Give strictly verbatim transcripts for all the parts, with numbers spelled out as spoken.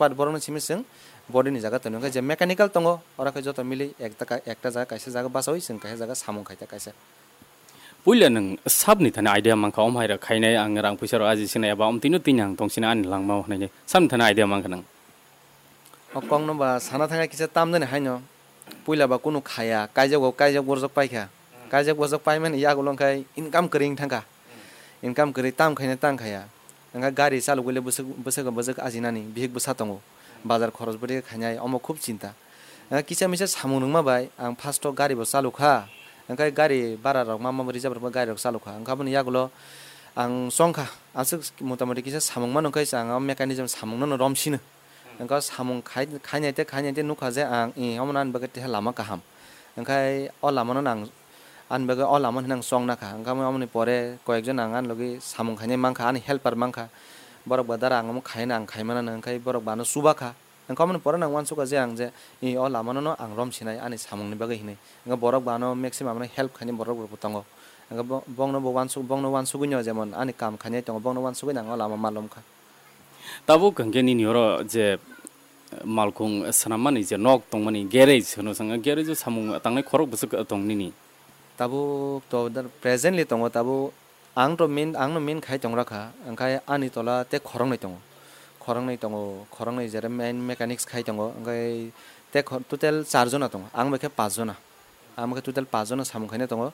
Part borokno simi chwng body ni jaga tonwi, hwnkhe je mechanical tongo, oro khe joto mili ekta ka-, ekta jaga kaisa jaga bachaui chwng kaisa jaga samung khaita kaisa. Puila nwng sabni thani idea mankha, "Om hai rok khainai, ang rang puisa rok aji sinai, eba om tino tini ang tong sinai ani langmao," hwnwi sabni thani idea mankha nwng. O kokno ba sana thangkha kisa tamjani haino. Puila ba kunu khaya, kaijak bo kaijak borjak paikha. Kaijak borjak paimani yagulo wngkha income kwrwi wng thangkha. Income kwrwi tam khaina tang khaya. Wngkha gari chalogwi le bwswk, bwswk bwswk ajinani bihik bwsa tongo. Bazar khorosbwtwi khainai omo khub chinta. Wngkha kisa misa samung rwngma bai ang first o gari bo chalokha. Wngkha gari bara rok ma ma reserve rok gari rok chalokha. Wngkha aboni yagulo ang chongkha. Aswk motamoti kisa samung mano wngkha ang o mechanism samung no romsino. Wngkha samung khai-, khainai tei khainai tei nukha je ang, "I, omo ani bagwi teha lama kaham." Wngkha o lama no ang, ani bagwi o lama hinwi ang chong nakha. Wngkha aboni pore koyekjon ang ani logi samung khainai mankha, ani helper mankha. Borok ba dara ang omo khaina ang khai manano, wngkha borok ba ano chubakha. Wngkha aboni pore ang uansukha je ang je, "I, o lama no ang romsinai ani samung ni bagwi," hinwi. Wngkha borok ba ano maximum ano help khainai borok rok bo tongo. Wngkha bo-, bongno bo uansuk-, bongno uansugwi no jemon ani kam khainai tongo, bongno uansugwi no ang o lama malomkha. Tabuk hwnkhe nini oro je malkhung swnammani je nok tongmani garage hwno chwng, garage o samung tangnai khorok bwswk tong nini? Tabuk to da-, presently tongo, tabuk ang to main, ang no main khai tong rakha, wngkha ani tola tei khoroknwi tongo, khoroknwi tongo, khoroknwi jera main mechanics khai tongo, wngkha tei kho-, total char jona tongo, ang bai khe paanch jona. Amo khe total paanch jona samung khaina tongo.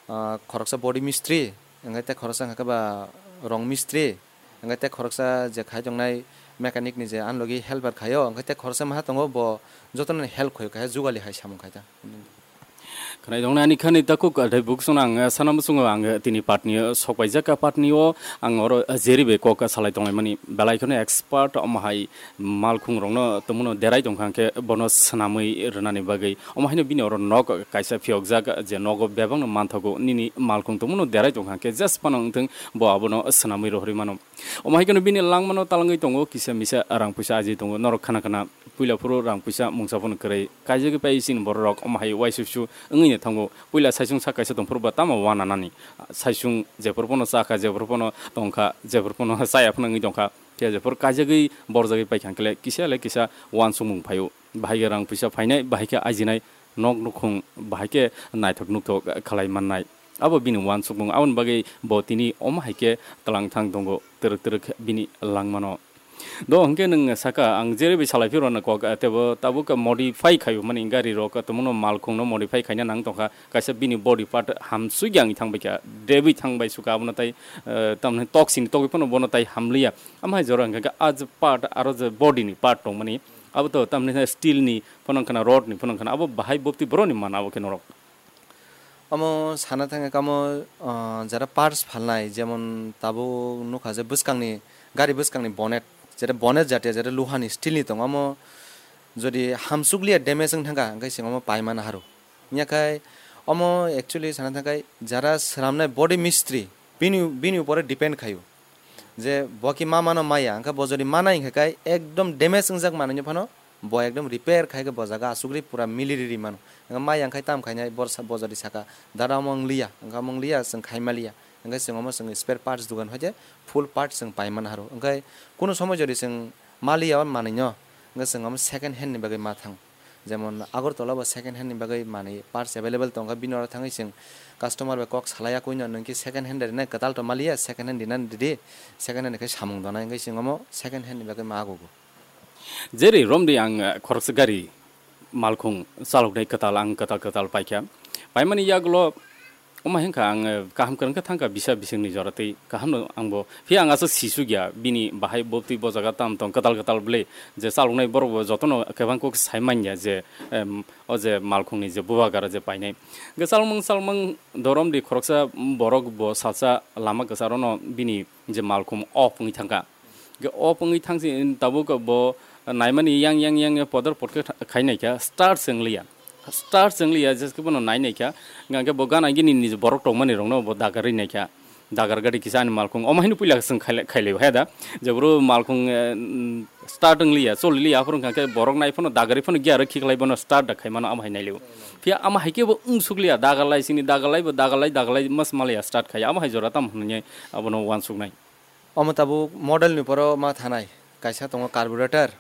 Ah, khoroksa body mistri, hingkhe tei khoroksa hingkhe ba rong mistri, hingkhe tei khoroksa je khai tongnai mechanic ni je ani logi helper khaio, hingkhe tei khoroksa maha tongo bo jotono help khaio, kaisa jugali hai samung khaita. Khwnai tongnai ani khani takhuk, ah, tei buksong ang, ah, sana muchungo ang, ah, tini patni, ah, sok paijak, ah, patni o ang oro, ah, jeri bai kok, ah, salai tonglaimani belai kheno expert omo hai malkhung rokno tongmano derai tongkha hwnkhe bono swnamwi rwnani bagwi. Omo haino bini oro nok kaisa phiyokjak je nogo bebakno manthogo nini malkhung tongmano derai tongkha hwnkhe just phano wngthung bo abono swnamwi rohorwi mano. Omo hai kheno bini langmano talangwi tongo kisa misa rang puisa aji tongo norok khana khana puila phuru rang puisa mungsa phano kwrwi kaijagwi pai chini borok rok omo hai uaisusu wngwi no thango puila saisung sak kaisa tongphuru ba tamo uananani saisung jephuru phano chakha jephuru phano tongkha jephuru phano chaya phano wngwi tongkha. Phiya jephuru kaijagwi borjagwi paikha hwnkhe le kisa le kisa uansukmung phaio. Bahai khe rang puisa phainai, bahai khe ajinai, nok nukhung bahai khe naithok nukthok khlai mannai. Abo bini uansukmung, aboni bagwi bo tini omo hai khe twlang thang tongo, twrwk twrwk bini langmano. Do hwnkhe nwng saka, ang jerei bai salai phirwano kok, tebo tabuk modify khaio, mani gari rok tongmano malkhungno modify khaina nang tongkha. Kaisa bini body part hamsui yang thang bai kha, debwi thang bai suka abono tai, eh, tamni tok sini togwi phano bono tai hamliya. Amhai jora hwnkha khe ah je part aro je body ni part tongmani abo to tamni steel ni phano wngkha na rod ni phano wngkha na abo bahai bopti boroni mana abo khe norok. Omo sana thangkha kamo, ah, jara parts phalnai jemon tabuk nukha je bwskangni gari bwskangni bonnet jera bonnet jatiya jera luhani steel ni tongo omo jodi hamsukliya damage wng thangkha hwnkhe chwng omo paimana haru. Yakhai omo actually sana thangkhai jara swnamnai body mistri bini, bini upore depend khaio. Je bo ki ma mano maya, hwnkhe bo jodi manai hwnkhe kai ekdom damage wngjak manwi phano bo ekdom repair khai khe bo jaga asugri pura mili riri mano. Hwnkhe maya hwnkhe tam khainai bor sa-, bo jodi saka dara omo wngliya, hwnkhe omo wngliya, chwng khai maliya. Hwnkhe chwng omo chwng spare parts dugan hoite full parts chwng pai man haro. Hwnkhe kunu somoi jodi chwng maliya o manwi no, hwnkhe chwng omo second hand ni bagwi ma thang. Jemon Agartala bo second hand ni bagwi manwi parts available tongkha, bini oro thangwi chwng customer bai kok salaiya, "Kuino nwng khe second hand rinai, kwtal to maliya, second hand rinani ridi, second hand khe samung donai," hwnkhe chwng omo second hand ni bagwi ma agogo. Jerei romdi ang, eh, khoroksa gari malkhung chaloknai kwtal, ang kwtal kwtal paikha. Paimani yagulo Omo hai wngkha ang, eh, kaham kwrwng khe thangkha bisa bisingni jora tei kaham no ang bo. Phiya ang aswk sisuk ya bini bahai bo twi bo jaga tam tong kwtal kwtal bwle je chaloknai borok bo jotono kwbang kok sai man ya je, em, o je malkhungni je bubagra je painai. Hwnkhe chalmung chalmung dorom di khoroksa borok bo salsa lama kwcharo no bini je malkhung off wngwi thangkha. Hwnkhe off wngwi thangsi tabuk bo naimani yang yang yang podor podkhe kha-, khai naikha, start se wngliya. Start se wngliya, jeske bono nai naikha. Hwnkhe bo gana gini niji borok tongmani rokno bo dagarwi naikha. Dagar gadi kisa ani malkhung. Omo haino puila chwng khailai, khailai hai da. Jeboro malkhung, eh, start wngliya, choliliya, aphuru hwnkhe borok nai phano dagarwi phano gear khiklai bono start da khaimano amo hai nailio. Phiya amo hai khe bo wng sukliya, dagarlai sini dagarlai bo dagarlai, dagarlai mas maliya start khaiya. Amo hai jora tamo hwnwi abono uansuknai. Omo tabuk model ni poro ma thanai. Kaisa tongo carburetor,